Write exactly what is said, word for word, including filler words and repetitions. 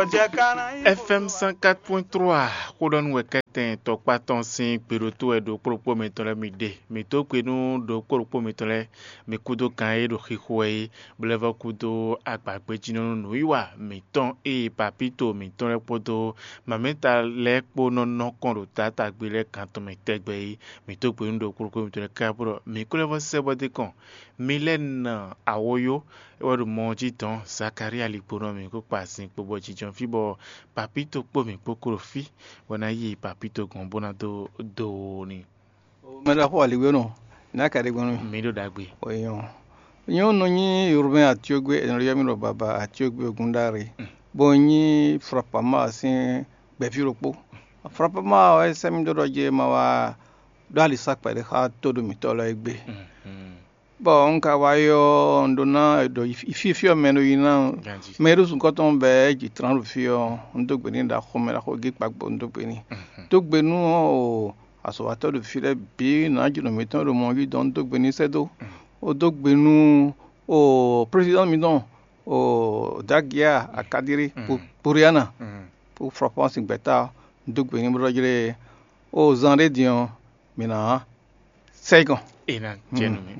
F M cent quatre point trois, xó ɖɔ nú wɛ kɛ́tɛn tɔkpá tɔn sín gbeɖótó wɛ ɖo kplɔ́kpó mǐtɔn lɛ́ɛ mi ɖe. Mǐ dó gbe nú ɖo kplɔ́kpó mǐtɔn lɛ́ɛ, mi kúdó kan e ɖo xixo wɛ é, bó lɛ́ vɔ́ kúdó agbagbéjínɔ́ nú nǔwiwa mǐtɔn e papíto mǐtɔn lɛ́ɛ kpódó mamɛ́ta lɛ́ɛ kpó nɔ nɔ kɔn ɖo taátagbe lɛ́ɛ kan tɔn mɛ tɛgbɛ é. Mǐ dó gbe nú ɖo kplɔ́kpó mǐtɔn lɛ́ɛ káká bó ɖɔ mǐ kó lɛ́ vɔ́ sɛ́ bɔ dé kɔn. Mi lɛ́ nɔ awǒ yó, é wá ɖo mɔ ɔ́ jí dɔn Zakalía ligbonɔ mǐ kó kpa sin kpo bɔ jínjɔ́n fí bɔ papíto kpó mǐ kpó kó ɖo fí, bɔ ná yi papíto gɔ́n bó ná dó do n'i. Mɛ ɖaxó aliwénɔ, ná ka ɖe gbɔn nú mi. Mi ɖo ɖagbe. Oyɔn. Nyɔnu nyi Urbain Atiogbe, è nɔ ylɔ́ mì ɖɔ baba Atiogbe Ogundare, bó nyí Frapama sín gbɛ̌ví ɖokpó. Frapama wɛ sɛ́ mì dó ɖɔ jɛ ma wá ɖó alisá kpɛɖé xá tóɖo mǐtɔn lɛ́ɛ gbe. Bɔ un ka wá yi ɔ́, un ɖó ná ɖo fífí ɔ́ mɛ ɖo yi ná. Mɛ e ɖo sunkɔ́ tɔn bɛɛ ji tlán ɖo fí ɔ́, un dó gbe n'i ɖaxó mɛ ɖaxó gé kpagbo un dó gbe n'i. Dó gbe nú o azɔ̌watɔ́ ɖo fí lɛ́ɛ bǐ nǎjínɔ mǐtɔn ɖo mɔ jí dɔn un dó gbe n'i sɛ́ dó. Ó dó gbe nú o présidɛ́nt mǐtɔn o Dagia Akadiri Puriana, po Flɔpɔ́n sin gbɛ̌ta, un dó gbe n'i bó ɖɔ jlé o zan ɖé din ɔ́, mǐ ná sɛ yi gɔn. È nǎ jɛ nú mì.